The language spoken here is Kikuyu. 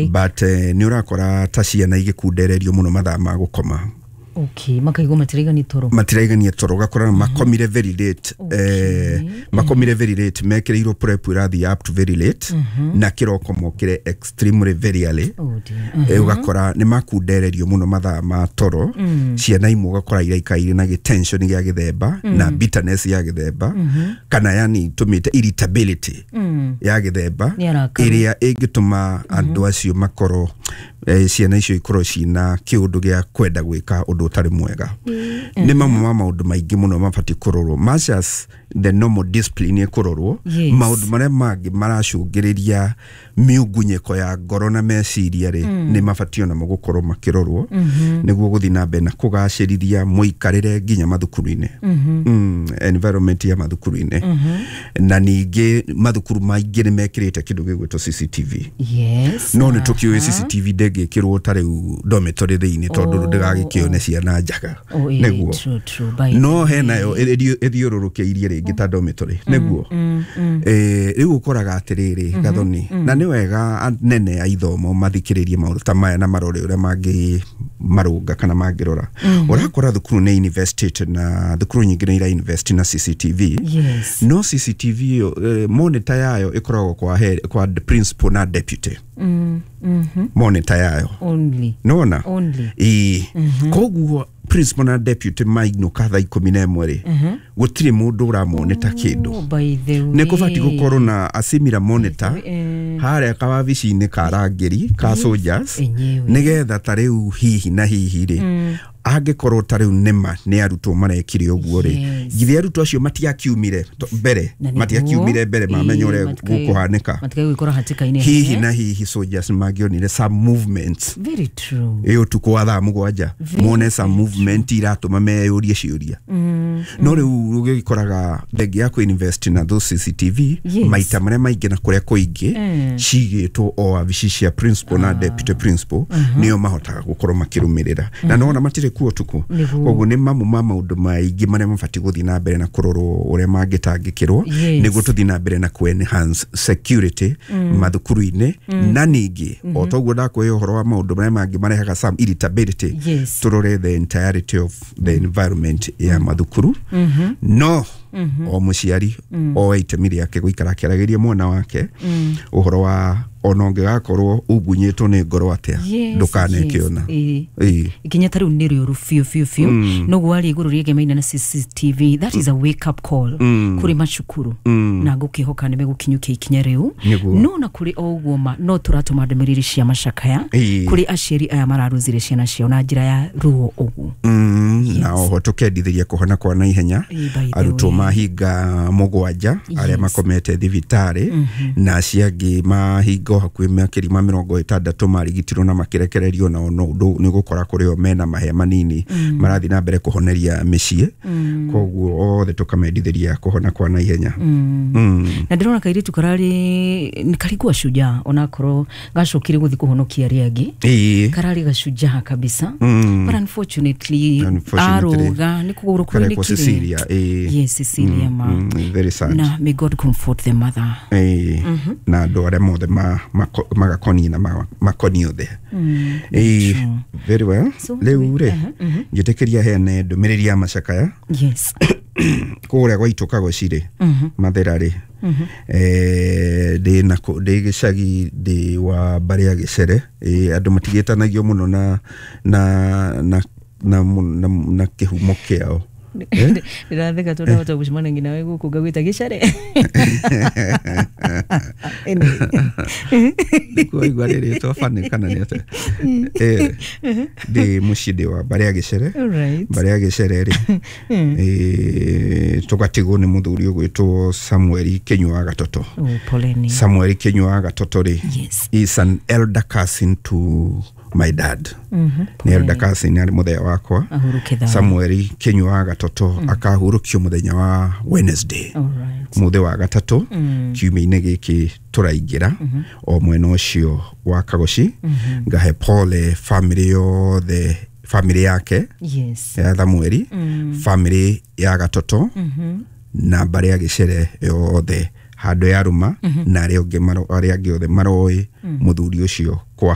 But nĩ ũrakora ta ciana igĩkundererio mũno mathaa ma gũkoma. Okay, makaigua matiraigania toro. Matiraigania toro, ũgakora makomire very late. Makomire very late, mekĩrĩirwo prep ĩrathiĩ up to very late, na kĩroko mokĩre extremely very early. Oh dear. Ũgakora nĩ makundererio mũno mathaa ma toro. Ciana imwe ũgakora iraikaire na gĩtension gĩa gĩthemba na bitterness ya gĩthemba, kana yani tũmĩte irritability ya gĩthemba Nĩ arakaru. ĩrĩa ĩngĩtũma andũ acio makorwo, ciana icio ikorwo ciina kĩũndũ gĩa kwenda gwĩka ũndũ ũtarĩ mwega. Nĩ mamwe ma maũndũ maingĩ mũno mabatiĩ kũrorwo much as the normal discipline ĩkũrorwo. Maũndũ marĩa mangĩ maracũngĩrĩria mĩungunyĩko ya ngoro na meciria rĩ, nĩ mabatiĩ onamo gũkorwo makĩrorwo nĩguo gũthiĩ na mbere na kũgacĩrithia mũikarĩre nginya mathukuru-inĩ, environment ya mathukuru-inĩ. Na ningĩ mathukuru maingĩ nĩ mekĩrĩte kĩndũ gĩgwĩtwo CCTV. No nĩ tũkĩũĩ CCTV ndĩngĩkĩrwo ta rĩu dormitory thĩinĩ, tondũ ndĩgagĩkĩone ciana njaga. Oh, nĩguo. True, true. By No the henayo way. ĩthiũrũrũkĩirie rĩngĩ ta dormitory nĩguo. Rĩu ũkoraga atĩrĩrĩ, Gathoni, na nĩ wega anene a ithomo mathikĩrĩrie maũndũ ta maya na marore ũrĩa mangĩ marũnga kana mangĩrora. Ũrakora thukuru nĩ invested, na thukuru nyingĩ nĩ ira invest na CCTV. No CCTV ĩyo, monitor yayo ĩkoragwo kwa principal na deputy, monitor yayo. Only. Nona. Only. Ĩĩ, koguo principal na deputy mainũka thaa 11 rĩ, gũtirĩ mũndũ ũramonita kĩndũ. Oh, by the way. Nĩ kũbatiĩ gũkorwo na a similar monitor harĩa kawabici-inĩ ka arangĩri ka soldiers, Enyewe. nĩgetha ta rĩu hihi na hihi rĩ, angĩkorwo ta rĩu nĩma nĩ arutwo marekire ũguo rĩ, githĩ arutwo acio matiakiumire mbere? Na nĩguo, Matiakiumire mbere mamenya ũrĩa gũkũhanĩka. Matikae gwĩkora hatĩka-inĩ. Hihi na hihi soldiers mangĩonire some movements Very true. ĩ ũtukũ wa thaa 7, mone some movement iratũma meyũrie ciũria. No rĩu ũgĩkoraga thengia ya kũ-invest na those CCTV, maita marĩa maingĩ na kũrĩa kũingĩ cigĩtwo o wabici cia principal na deputy principal, nĩo mahotaga gũkorwo makĩrũmĩrĩra, na nona matirĩ kuo ũtukũ. Koguo nĩ mamwe ma maũndũ maingĩ marĩa mabatiĩ gũthiĩ na mbere na kũrorwo ũrĩa mangĩtangĩkĩrwo nĩguo tũthiĩ na mbere na kũ-enhance security mathukuru-inĩ. Na ningĩ o toguo ndakũhe ũhoro wa maũndũ marĩa mangĩ marehaga some irritability, tũrore the entirety of the environment ya mathukuru. No o mũciari oe itemi rĩake gũikara akĩaragĩria mwana wake ũhoro wa ona ũngĩgakorwo ungunyĩtwo nĩ ngoro atĩa, ndũkanekĩona. Ĩĩ. Ikinya ta rĩu nĩ rĩũru biũ biũ biũ. Noguo warĩ igũrũ rĩegemaine na CCTV, that is a wake up call kũrĩ macukuru, na ngũkĩhoka nĩ megũkinyũkia ikinya rĩu. Nĩguo. No na kũrĩ o ũguo ma no tũratũma ndũmĩrĩri cia macakaya kũrĩ aciari aya mararũzire ciana ciao na njĩra ya ruo ũguo. Na oho tũkendithĩria kũhona kwa naihenya Ĩĩ, by the arutwo way. mahinga 7 arĩa makomete thibitarĩ, na acio angĩ mahinga o hakuhĩ makĩria ma 60 marigitirwo na makĩrekererio, nao no nĩ gũkora kũrĩ o mena mahĩa manini marathiĩ na mbere kũhoneria mĩciĩ. Koguo othe tũkamendithĩria kũhona kwa naihenya. Na ndĩrona kairĩtu kararĩ nĩ karigua shujaa, onakorwo gacokire gũthiĩ kũhonokia arĩa angĩ. Kararĩ gashujaa kabisa, but unfortunately, Unfortunately, aroga nĩ kũgũrũ karekwo kũinĩkire. Cecilia, ĩĩ. Yes, Cecilia ma. Very sad. Na may God comfort the mother. Ĩĩ, na andũ arĩa mothe magakoniĩ na makoniĩ othe. Ĩĩ, very well. So, Rĩu rĩ, njĩtĩkĩria heane ndũmĩrĩri ya macakaya. Kũrĩa gwaitũ Kagoci rĩ, Mathera rĩ, ndĩ na ndĩ gĩcagi, ndĩ wa mbarĩ ya Gĩcere. Andũ matigĩtanagio mũno na kĩhumo kĩao. Ndĩratheka tondũ ndahota gũcemania nginya we gũkũ ngagwĩta gĩcare. Anyway. Nĩkuo waigua rĩrĩtwa bani kana nĩ atĩa? Ndĩ mũciĩ, ndĩ wa mbarĩ ya Gĩcere. Mbarĩ ya Gĩcere rĩ, tũgatigwo nĩ mũthuri ũgwĩtwo Samuel Kĩnyua wa Gatoto. Oh, poleni. Samuel Kĩnyua wa Gatoto rĩ, is an elder cousin to my dad. Nĩ elder cousin, arĩ mũthenya wakwa. Ahurũke thayũ. Samuel Kĩnyua wa Gatoto akahurũkio mũthenya wa Wednesday, mũthĩ wa gatatũ, kiumia-inĩ gĩkĩ tũraingĩra, o mwena ũcio wa Kagoci. Ngahe pole family yothe, family yake ya Thamueli, family ya Gatoto na mbarĩ ya Gĩcere yothe. Handũ yarũma na arĩa angĩ othe maroĩ mũthuri ũcio kwa.